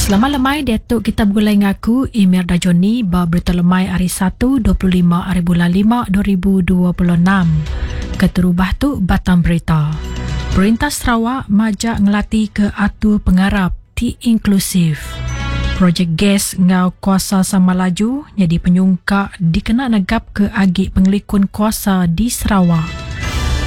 Selamat lemai diatu kita begulai ngaku Emir Dajoni ba berita lemai hari 1 25 hari bulan 5 2026. Keterubah tu batang berita. Perintah Sarawak majak ngelati ke atur pengarap ti inklusif. Projek gas enggau kuasa sama laju nyadi penyungkak dikena negapka agi pengelikun kuasa di Sarawak.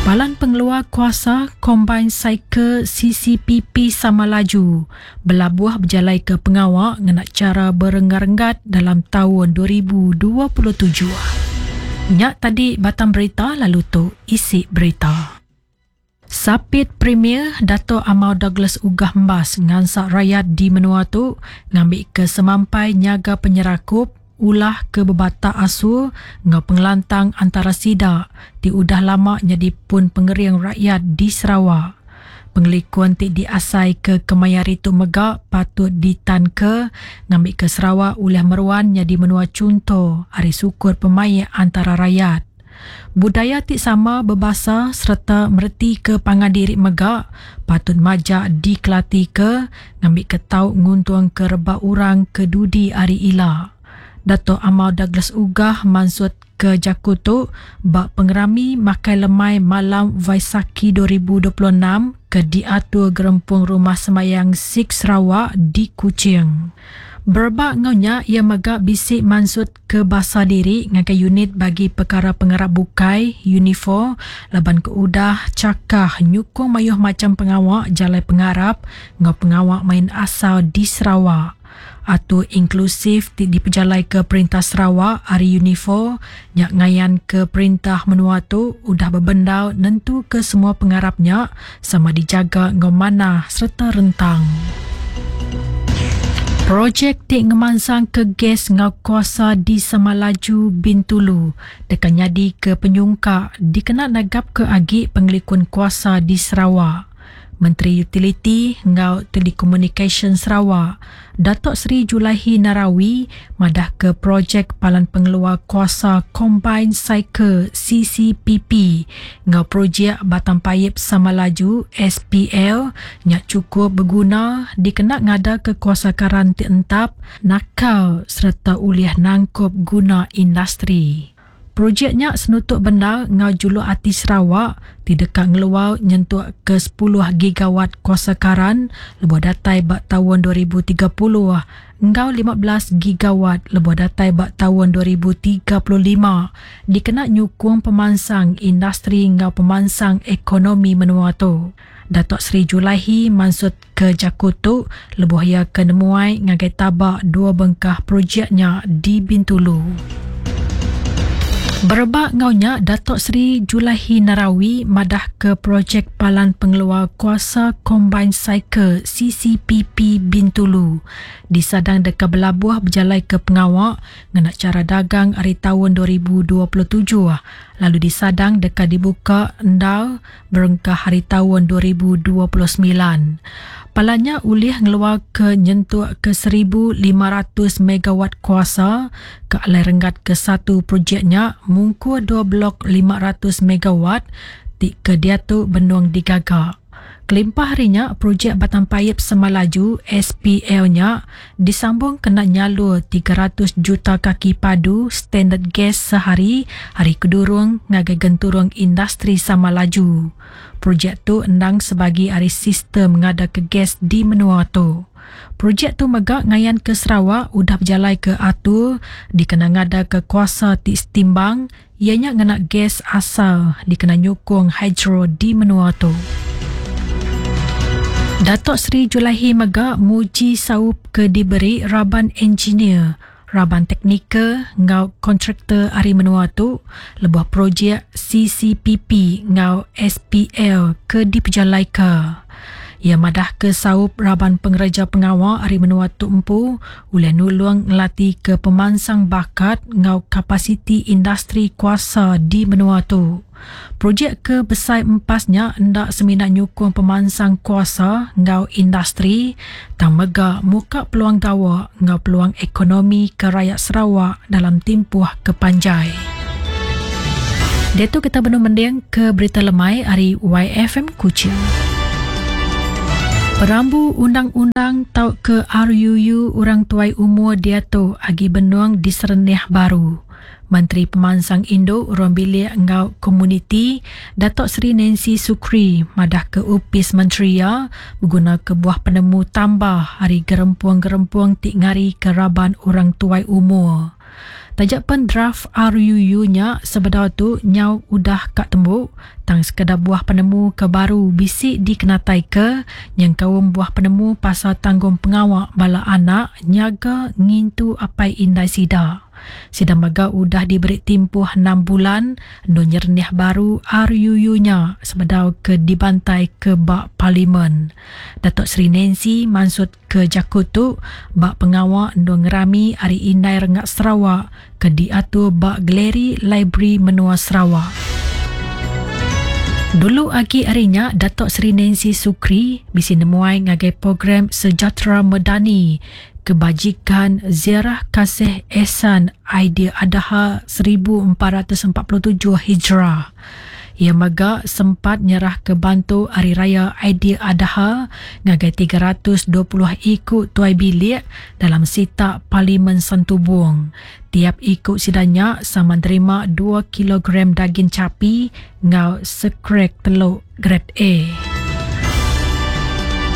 Palan Pengeluar Kuasa Combined Cycle CCPP Sama Laju belabuh bejalaika pengawa ngena chara berenggat-renggat dalam taun 2027. Nya tadi batang berita lalu tu isi berita. Sapit Premier Datuk Amar Douglas Uggah Embas ngansak rayat di menua tu ngambika semampai nyaga penyerakup, ulah ke bebatak asur enggau pengelantang antara sida ti udah lama nyadi pun pengering rakyat di Sarawak. Pengelikun ti diasaika kemaya hari tu mega patut ditanka ngambika Sarawak ulih meruan nyadi menua chunto ari sukut pemaik antara rayat. Budaya ti sama bebasa sereta meretika pangan diri mega patut majak dikelatika ngambika tau nguntungka rebak orang ke dudi hari ila. Datuk Amar Douglas Uggah mansutka jaku tu ba Pengerami Makai Lemai Malam Vaisakhi 2026 ke diatur Gerempung Rumah Sembahyang Sikh Sarawak di Kuching. Berebak enggau nya, iya mega bisi mansut ke basa diri ngagai unit bagi pekara pengarap bukai, UNIFOR, laban ke udah chakah nyukung mayuh macham pengawa jalai pengarap enggau pengawa main asal di Sarawak. Atur inklusif ti dipejalaika Perintah Sarawak ari UNIFOR nya ngayanka perintah menua tu udah bebendar nentuka semua pengarap nya sama dijaga enggau manah sereta rentang. Projek ti ngemansangka gas enggau kuasa di Samalaju, Bintulu deka nyadika penyungkak dikena negapka agi pengelikun kuasa di Sarawak. Menteri Utiliti enggau Telekomunikasyen Sarawak, Datuk Seri Julaihi Narawi madahka projek Palan Pengeluar Kuasa Combined Cycle, CCPP, enggau projek Batang Paip Samalaju, SPL, nya chukup beguna dikena ngadaka kuasa karan ti entap, nakal sereta ulih nangkup guna industri. Projek nya senutuk bendar enggau juluk ati Sarawak ti deka ngeluar nyentuk ke sepuluh gigawatt kuasa karan lebuh datai ba taun 2030 enggau 15 gigawatt lebuh datai ba taun 2035 dikena nyukung pemansang industri enggau pemansang ekonomi menua tu. Datuk Seri Julaihi mansutka jaku tu lebuh iya ke nemuai ngagai taba dua bengkah projek nya di Bintulu. Berebak enggau nya, Datuk Seri Julaihi Narawi madahka projek Palan Pengeluar Kuasa Combined Cycle, CCPP, Bintulu disadang deka belabuh bejalaika pengawa ngena chara dagang ari taun 2027 lalu disadang deka dibuka endar berengkah ari taun 2029. Palan nya ulih ngeluarka nyentuk ke 1500 megawatt kuasa ke alai renggat kesatu projek nya mungkur dua blok 500 megawatt ti ke diatu benung digaga. Kelimpah ari nya, projek Batang Paip Semalaju, SPL, nya disambung kena nyalur 300 juta kaki padu standard gas sehari ari Kedurung ngagai genturung industri Samalaju. Projek tu endang sebagi ari sistem ngadaka gas di menua tu. Projek tu mega ngayanka Sarawak udah bejalaika atur dikena ngadaka kuasa ti setimbang iya nya ngena gas asal dikena nyukung hidro di menua tu. Datuk Seri Julaihi mega muji saup ke diberi raban engineer, raban teknikal enggau kontraktor ari menua tu lebuh projek CCPP enggau SPL ke dipejalaika. Iya madahka saup raban pengereja pengawa ari menua tu empu ulih nulung ngelatika pemansang bakat enggau kapasiti industri kuasa di menua tu. Projek ke besai empas nya enda semina nyukung pemansang kuasa enggau industri tang mega muka peluang gawa enggau peluang ekonomi ke rayat Sarawak dalam timpuh ke panjai. Diatu kita benung mending ke berita lemai ari YFM Kuching. Perambu undang-undang tauka RUU orang tuai umur diatu agi benung diserenih baru. Menteri Pemansang Indu, Ruang Bilik enggau Komuniti, Datuk Seri Nancy Sukri madahka opis menteri iya begunaka buah penemu tambah ari gerempung-gerempung ti ngarika raban orang tuai umur. Taja pen draf RUU nya sebedau tu nyau udah ka tembu, tang sekeda buah penemu ke baru bisi dikenataika nyengkaum buah penemu pasal tanggungpengawa bala anak nyaga ngintu apai indai sida. Sida mega udah diberi timpuh enam bulan endur nyerenih baru RUU nya sebedau ke dibantaika ba Parlimen. Datuk Seri Nancy mansut Ke jaku tu ba pengawa endur ngerami Hari Indai Renggat Sarawak ke diatur ba Galeri Library Menua Sarawak. Dulu agi ari nya Datuk Seri Nancy Sukri bisi nemuai ngagai Program Sejahtera Medani Kebajikan Ziarah Kasih Ehsan Aidil Adha 1447 Hijrah. Iya mega sempat nyerahka bantu Hari Raya Aidil Adha ngagai 320 iku tuai bilik dalam sitak Parlimen Santubong. Tiap iku sida nya sama nerima dua kilogram dagin chapi enggau sekrek teluk gred A.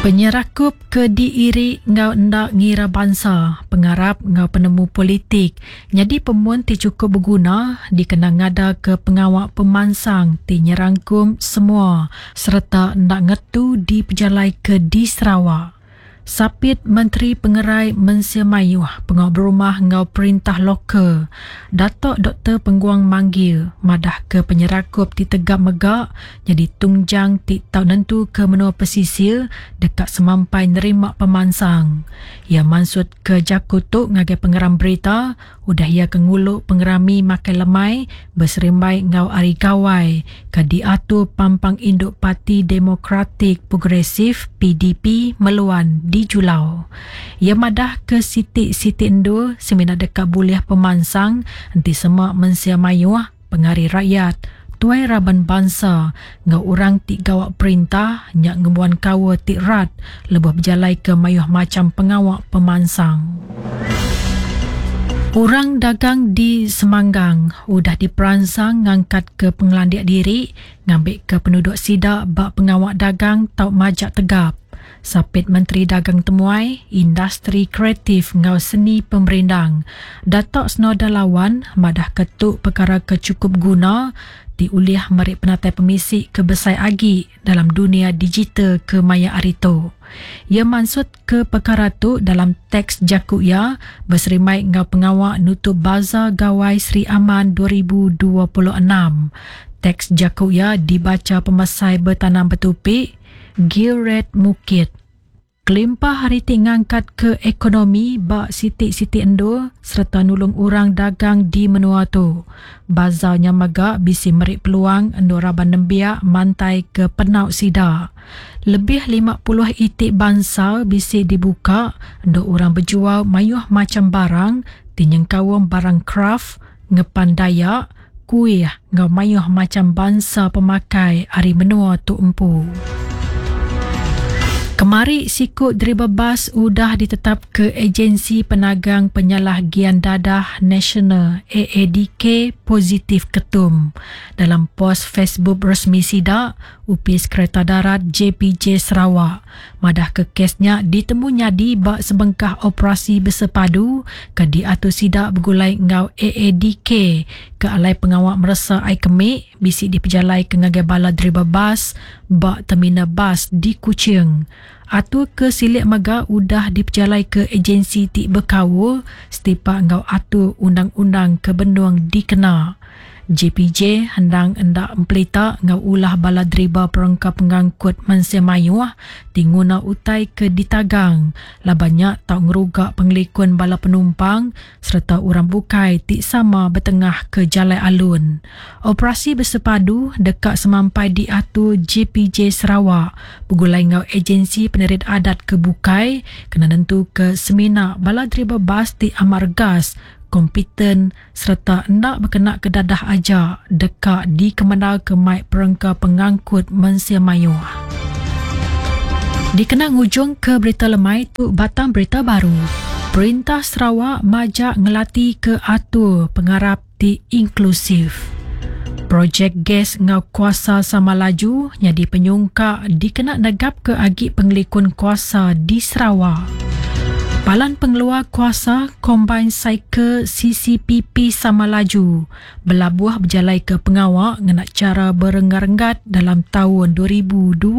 Penyerakup ke diiri enggau enda ngira bansa, pengarap enggau penemu politik Nyadi pemun ti chukup beguna dikena ngadaka pengawa pemansang ti nyerangkum semua sereta enda ngetu dipejalaika di Sarawak. Sapit Menteri Pengerai Mensia Mayuh, Pengawa Berumah enggau Perintah Lokal, Datuk Doktor Penguang Manggil madahka penyerakup ti tegap mega nyadi tungjang ti tau nentuka menua pesisir deka semampai nerima pemansang. Iya mansut Ke jaku tu ngagai pengeram berita udah iya ke ngulu pengerami makai lemai beserimbai enggau Hari Gawai ke diatur Pampang Indu Parti Demokratik Progresif, PDP, Meluan di Julau. Iya madah ke siti-siti endur semina deka bulih pemansang enti sema mensia mayuh pengari rakyat, tuai raban bansa enggau orang ti gawa perintah nya ngembuan kaul ti rat lebuh bejalaika mayuh macham pengawa pemansang. Orang dagang di Semanggang udah diperansang ngangkatka pengelandik diri ngambika penuduk sida ba pengawa dagang tau majak tegap. Sapit Menteri Dagang Temuai, Industri Kreatif enggau Seni Pemerindang, Datuk Snowdan Lawan madahka tu pekara ke chukup guna ti ulih meri penatai pemisi ke besai agi dalam dunia digital ke maya hari tu. Iya mansutka pekara tu dalam teks jaku iya beserimbai enggau pengawa nutup Bazaar Gawai Sri Aman 2026. Teks jaku iya dibacha Pemesai Betanam Betupi, Gilred Mukit. Kelimpah ari ti ngangkatka ekonomi ba siti-siti endur sereta nulung orang dagang di menua tu, bazar nya mega bisi meri peluang endur raban nembiak mantaika penau sida. Lebih 50 iti bansal bisi dibuka endur orang bejual mayuh macham barang ti nyengkaum barang kraf, ngepan Dayak, kuih enggau mayuh macham bansa pemakai ari menua tu empu. Kemari siku deriba bas udah ditetapka Ejensi Penagang Penyalah Gian Dadah Nasional, AADK, positif ketum. Dalam pos Facebook resmi sida, Opis Kereta Darat JPJ Sarawak madahka kes nya ditemu nyadi ba sebengkah operasi besepadu ke diatur sida begulai enggau AADK ke alai pengawa meresa ai kemi bisi dipejalaika ngagai bala deriba bas ba terminal bas di Kuching. Atur ke silik mega udah dipejalaika ejensi ti bekaul setipak enggau atur undang-undang ke benung dikena. JPJ endang enda empelita enggau ulah bala deriba perengka pengangkut mensia mayuh ti nguna utai ke ditagang laban nya tau ngeruga pengelikun bala penumpang sereta orang bukai ti sama betengahka jalai alun. Operasi besepadu deka semampai diatur JPJ Sarawak begulai enggau ejensi penerit adat ke bukai kena nentuka semina bala deriba bas ti amat regas, kompeten sereta enda bekenaka dadah aja deka dikemendarka mai perengka pengangkut mensia mayuh. Dikena ngujung ke berita lemai tu batang berita baru. Perintah Sarawak majak ngelati ke atur pengarap ti inklusif. Projek gas enggau kuasa sama laju nyadi penyungkak dikena negapka agi pengelikun kuasa di Sarawak. Palan Pengeluar Kuasa Combined Cycle CCPP Sama Laju belabuh bejalaika pengawa ngena chara berenggat-renggat dalam taun 2026.